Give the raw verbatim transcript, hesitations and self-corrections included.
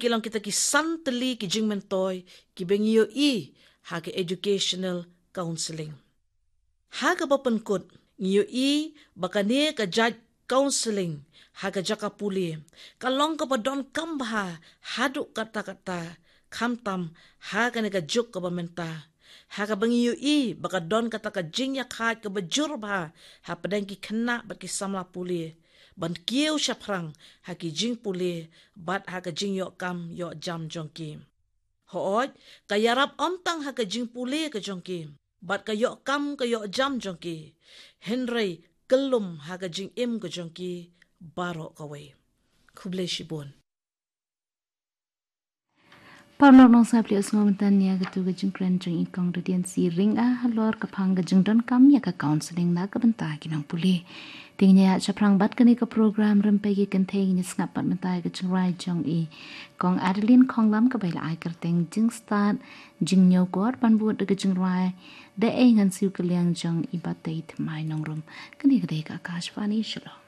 ki long kita ki san tylli ki jingmyntoi kiba ngi ïohi ha ka educational counselling. Ha kaba pynkut, ngi ïohi ba kane ka jait counselling ha ka jaka pule ka long kaba donkam bha haduh katta katta, khamtam ha kane ka juk kaba mynta, ha kaba ngi ïohi ba ka don kata ka jingïakhaid kaba jur bha hapdeng ki khynnah bad ki samla pule ban kiew shaphrang ha ki jingpule bad ha ka jingïoh kam ïoh jam jong ki. Hooid, ka ïarap ym tang ha ka jingpule ka jong ki bad ka ïoh kam ka ïoh jam jong ki, hynrei kyllum ha ka jingim ka jong ki baroh kawei. Khublei shibun. Paralok nongsngap, phi la ïohsngew mynta ïa katu ka jingkren jong i Kong Radiancy Rynga halor ka phang ka jingdonkam ïa ka counselling na ka bynta ki nongpule. Te ngin ïa shaphrang bad kane ka program Rympei ki Kynthei, ngin ïa sngap pat mynta ïa ka jingrwai jong i Kong Adeline Khonglam kaba la ai kyrteng Jingstad Jingñiewkor, ban bud da ka jingrwai Da Ei Ngan Siew Kylliang jong i Batei Thymmai Nongrum. Kane ka dei ka Akashvani Shillong.